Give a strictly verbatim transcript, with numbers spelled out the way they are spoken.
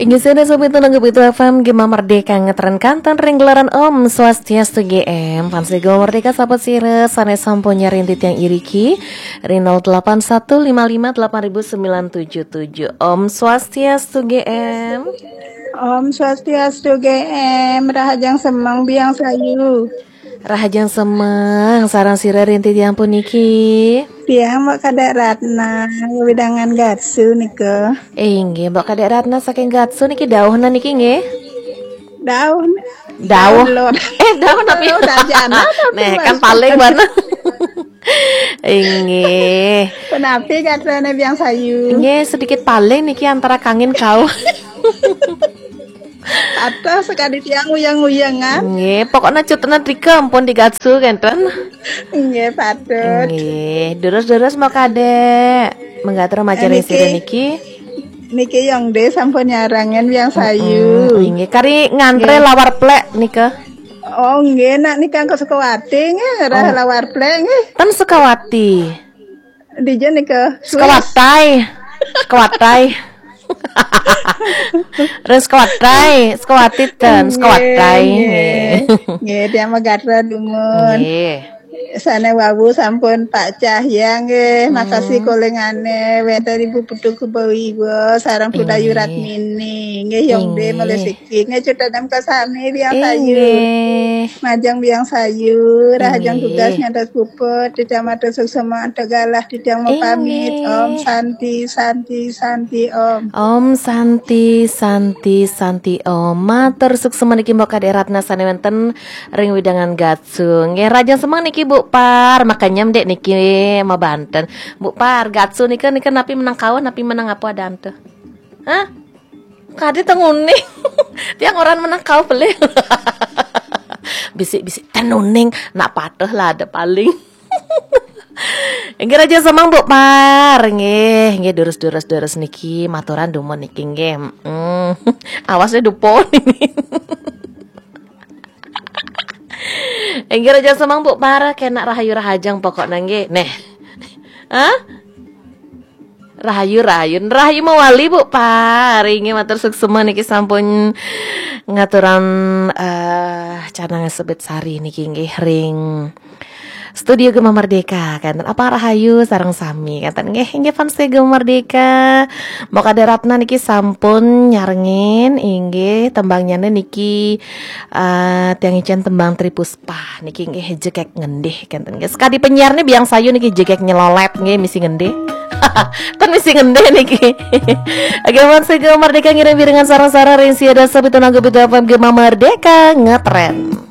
Inggih, sira sobat Nanggu Pitu F M, Gema Merdeka ngetren kanten ring gelaran Om Swastiastu G M. Fans Gema Merdeka, sahabat sira sane sampun nyarengin titiang iriki ring nol delapan satu lima lima delapan ribu sembilan tujuh tujuh. Om Swastiastu G M. Om Swastiastu G M, rahajeng semeng Biang Sayu. Rahajeng semeng sareng sira ring titiang puniki. Tiang Mbok Kadek Ratna, wewidangan Gatsu nika. Inggih, Mbok Kadek Ratna saking Gatsu niki, dauhna niki nggih. Dauh. Dauh. Dauh, Lur. Eh, dauh napi? Dauh, sarjana, tapi Neh, kan Mas paling banget. Inggih. Penapi gatrane Biang Sayu? Nggih, sedikit paling niki antara kangin kauh. Atau sekadi tiang uyang-uyangan. Nggih, pokoknya cutna drika ampun di Gatsu kenten. Nggih, patut. Nggih, durus-durus Mbok Kadek. Mangga atur Eh, macaring niki, sira niki. Niki Yongde sampun nyarengin Biang Sayu. Mm, inggih, kari ngantre Nggih. Lawar plek nika. Oh, nggih, nak nika ke Sukawati nggih, rah Oh. Lawar plek nggih. Ten Sukawati. Dija nika Swiss. Sekawatai. Sekawatai. Ring Sekawatai, Sekawati ten, Nggih, Sekawatai. Nggih. Nggih. Nggih, tiang magatra dumun. Nggih. Sane wau sampun Pak Cahya nggih, makasih Hmm. kolengane, wenten Ibu Putu Kubawiwa, sareng Pudayu Nggih. Ratmini. Nggih, Yongde Nggih. Malih siki. Nggih, cetanem kasami Biang Sayu. Inggih. Majeng Biang Sayu, rahajeng Inggih. Tugas ngantos puput, titiang matur suksma antuk galah, titiang mapamit. Inggih. Om Santi, Santi, Santi, Om. Om Santi, Santi, Santi, Om. Matur suksma niki Mbok Kadek Ratna sane wenten ring wewidangan Gatsu. Nggih, rahajeng semeng niki Bu Par, makanya Mbok niki mabanten. Bu Par, Gatsu nika, nika napi menang kauh, napi menang apa adanten? Hah? Kadi ten uning. Tiang orang menang kauh pelih. Bisik-bisik ten uning, nak patuh lah ada paling. Inggih, rahajeng semeng Bu Par, nggih, nggih, durus-durus, durus niki, maturan dumun niki, nggih. Mm. Awasnya dupo niki. Inggih, rahajeng semeng Bu Par, kena rahayu rahajeng pokoknya, nggih. Neh. Hah? Rahayu, rahayu, rahayu mawali Bu Par. Inggih, matur suksma niki sampun ngaturang, eh, canang sebet sari niki nggih ring Studio Gema Merdeka, kenten apa rahayu sareng sami, kenten nggih, inggih fans Gema Merdeka. Mbok Kadek Ratna niki sampun nyarengin, inggih, tembangnyane niki, eh, tiang icen tembang Tri Puspa niki nggih, Jegeg Ngendih, kenten nggih. Sekadi penyiar nih Biang Sayu niki jegeg nyelolet nggih, misi ngendih. Ten misi ngendih niki. Oke, fans Gema Merdeka ngiring pirengan sareng-sareng ring sia dasa pitu nanggu pitu F M Gema Merdeka ngetren.